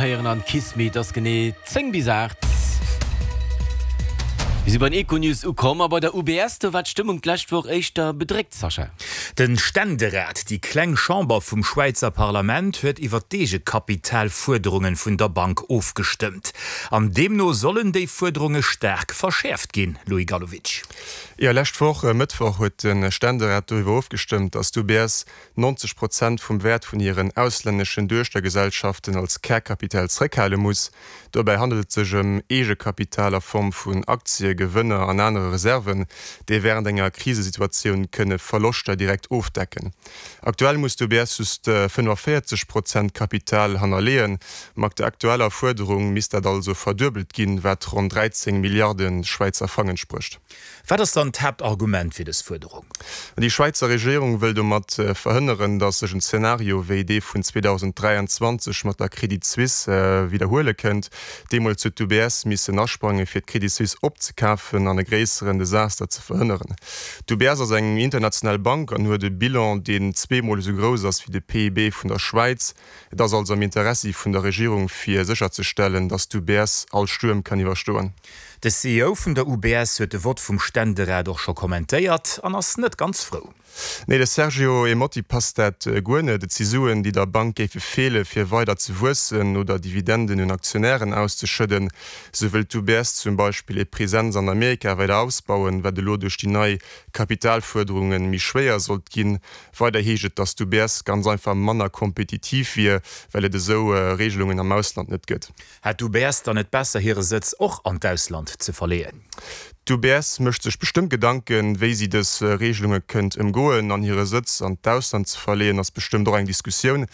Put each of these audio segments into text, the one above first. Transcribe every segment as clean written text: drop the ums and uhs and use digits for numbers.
Héieren an Kiss Me, et ass genee 10 bis 8. Mir si bei den Econews ukomm a bei der UBS, do war d'Stëmmung d'lescht Woch éischter bedréckt, Sascha. De Ständerat, déi kleng Chamber vum Schwäizer Parlament, huet iwwer d'Eegekapitalfuerderunge vun der Bank ofgestëmmt. An deemno sollen déi Fuerderunge staark verschäerft ginn, Louis Gallowitsch. Jo, lescht Woch e Mëttwoch huet de Ständerat doriwwer ofgestëmmt, datt d'UBS 90 Prozent vum Wäert vun hiren auslänneschen Duechtergesellschaften als Kärkapital zréckhale muss. Dobäi handelt et sech ëm Eegekapital a Form vun Aktie, Gewënner an anere Reserven, déi wärend enger Krisesituatioun kënne Verloschter direkt ofdecken. Aktuell muss d'UBS just 45 Prozent Kapital hannerleeën. Mat der aktueller Fuerderung misst dat also verduebelt ginn, wat ronn 13 Milliarde Schwäizer Frang entsprécht. Wat ass dann d'Haaptargument fir dës Fuerderung? Déi Schwäizer Regierung wëll domat verhënneren, datt sech en Zenario wéi dee vun 2023 mat der Credit Suisse widderhuele kënnt. Deemools huet d'UBS missen asprange fir d'Credit Suisse opzekafen an e gréisseren Desaster ze verhënneren. D'UBS ass eng international Bank an huet e Bilan, deen zweemol esou grouss ass wéi de PIB vun der Schwäiz. Et ass also am Interessi vun der Regierung fir sécherzestellen, datt d'UBS all Stuerm kann iwwerstoen. De CEO vun der UBS huet de Vott vum Ständerat och scho kommentéiert an ass net ganz frou. Nee, de Sergio Ermotti passt dat guer net. Et si Suen, déi der Bank géife feele fir weider ze wuessen oder Dividenden un Aktionären auszeschëdden. Sou wëllt d'UBS zum Beispill hir Presenz an Amerika weider ausbauen, wat elo duerch déi nei Kapitalfuerderunge méi schwéier sollt ginn. Weider heescht et, datt d'UBS ganz einfach manner kompetitiv wier, well et esou Regelungen am Ausland net gëtt. Hätt d'UBS dann net besser hire Sëtz och an d'Ausland ze verleeën? D'UBS mécht sech bestëmmt Gedanken, wéi si dës Regelunge kënnt ëmgoen. An hire Sëtz an d'Ausland ze verleeën ass bestëmmt och eng Diskussioun.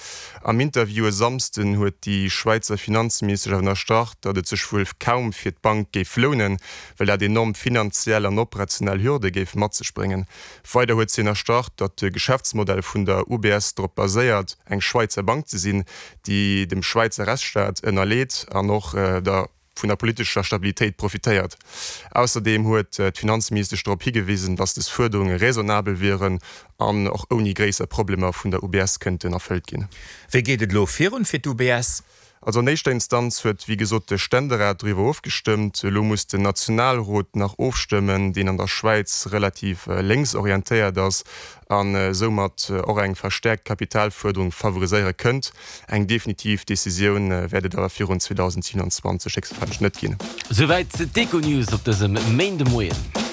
Am Interview e Samsden huet déi Schwäizer Finanzministesch awer ënnerstrach, datt et sech wuel kaum fir d'Bank géif lounen, well dat enorm finanziell an operationell Hürde géif mat sech bréngen. Weider huet si ënnerstrach, datt de Geschäftsmodell vun der UBS drop baséiert, eng Schwäizer Bank ze sinn, déi dem Schwäizer Rechtsstaat ënnerleet an och der vun der politescher Stabilitéit profitéiert. Ausserdeem huet d'Finanzministesch drop higewisen, datt des Fuerderunge raisonnabel wieren an och ouni gréisser Problemer vun der UBS kënnten erfëllt ginn. Wéi geet et elo virun fir d'UBS? Also an éischter Instanz huet wéi gesot de Ständerat doriwwer ofgestëmmt. Elo muss den Nationalrot nach ofstëmmen, deen an der Schwäiz relativ lénks orientéiert ass an soumat och eng verstäerkt Kapitalfuerderung favoriséiere kënnt. Eng definitiv Decisioun wäert et awer virun 2027 héchstwahrscheinlech net ginn. Souwäit d'Econews op dësem Méindemoien.